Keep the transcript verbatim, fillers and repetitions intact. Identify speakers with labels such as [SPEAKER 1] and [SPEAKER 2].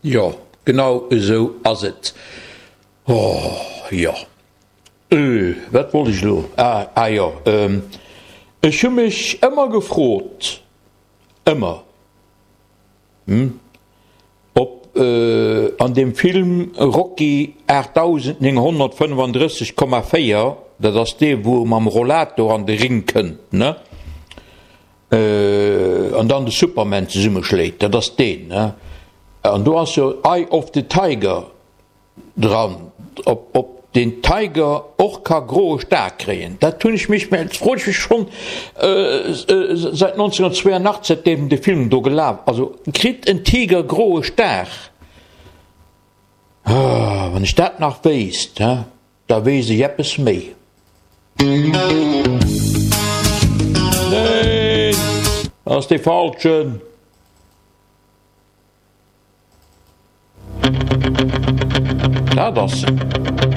[SPEAKER 1] Jo, genau esou ass et. Oh, jo. Äh, wat wollt ech elo? Ah, ah jo, ähm, ech hu mech ëmmer gefrot, ëmmer, hm, ob an deem Film Rocky aachtdausendnénghonnertfënnefandrësseg Komma véier, dat ass dee wou e mam Rollator an de Ring kënnt, ne, an dann de Superman zesummeschléit, dat ass deen, ne, an do ass jo Eye of the Tiger dran, ob, ob den Tiger och ka groe Star kréien, dat hunn ech mech, dat froen ech mech schonn säit nonzénhunnertzweeanachtzeg, säitdeem de Film do gelaf, also kritt en Tiger groe Star? Wann ech dat nach wéisst, he, da weess ech eppes méi. Neen, dat ass dee falschen. Dat ass se.